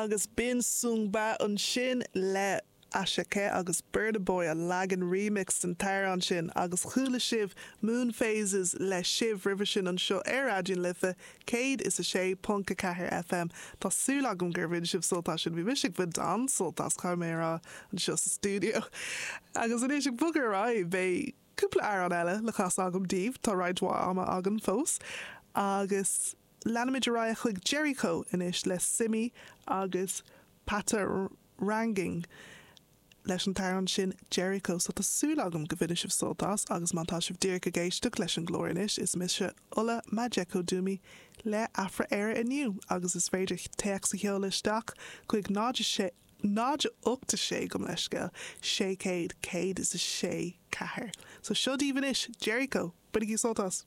Agus b'in Sungba ansin le Asake agus Burna Boy an leagan remix den t-amhrán sin agus chuala sibh Moon Phases le Shiv roimhe sin anseo ar Raidió na Life 106.4 FM. Tá súil agam gur bhain sibh sult as sin. Bhí mise ag baint an-sult as, caithfidh mé a rá, anseo sa stiúideo. Agus anois ag bogadh ar aghaidh, beidh cúpla amhrán eile le casadh agam daoibh, tá roinnt mhaith ama againn fós, agus leanfaimid ar aghaidh chuig Jericho anois le Simmy agus Patoranking leis an t-amhrán sin Jericho. So tá súil agam go bhainfidh sibh sult as agus má tá sibh díreach ag éisteacht leis an gclár anois, is mise Ola Majekodunmi le Afra-Éire Inniu agus is féidir téacs a sheoladh isteach chuig 0 6 0 8 6 gabh mo leithscéal 600 106 4. So seo daoibh anois Jericho! Bainigí sult as!